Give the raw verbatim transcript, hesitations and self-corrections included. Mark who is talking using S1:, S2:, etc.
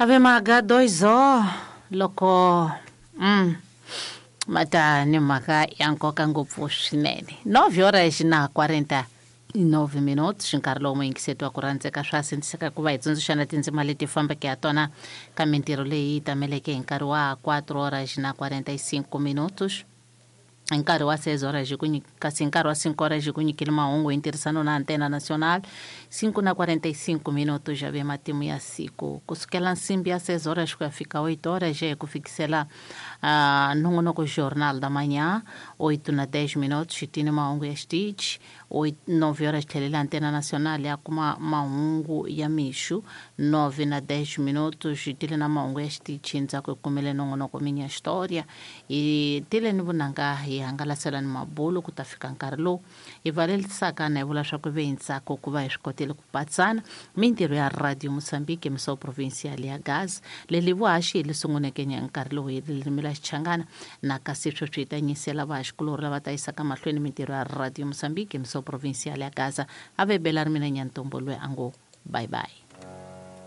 S1: Ave maga dois o loko mm mata ni mhaka ya nkoka ngopfu swinene nove horas na quarenta e nove minutos nkarhi lowu muyingiseti wa ku rhandzeka swa sindziseka ku va hi tsundzuxana tindzima leti fambeke ha tona ka mintirho leyi tameleke hi nkarhi wa quatro horas na quarenta e cinco minutos hi nkarhi wa seis horas ku kasi hi nkarhi wa cinco horas ku nyikile mahungu hi ntirhisano na Antena Nacional cinco na quarenta e cinco minutos já ve matimu ya siku kusukela nsimbi ya seis horas ku ya fika oito horas ku fikisela uh, nongonoko Jornal da Manhã oito na dez minutos xitini mahungu ya xitichi nove horas tlhelela Antena Nacional ya kuma mahungu ya mixo nove na dez minutos xitile na mahungu ya xitichi ndzhaku hi kumile nongonoko Minha História hi tile ni vunanga hi hangalasela ni mabulo ku ta fika nkarhi lowu hi valelisaka na hi vula swa ku ve hi ntsako ku va hi swi kotile ku patsana mintirho ya Radio Moçambique missão provincial ya Gaza leli vuhaxi hi li sunguneke nkarhi lowu hi ririmi la Xichangana na kasi sweswi hi ta nyisela vahaxikulorhi lava ta yisaka mahlweni mintirho ya Radio Moçambique missão provincial ya Gaza a ve bela ri mina Nyantombo loyi a ngo bye bye.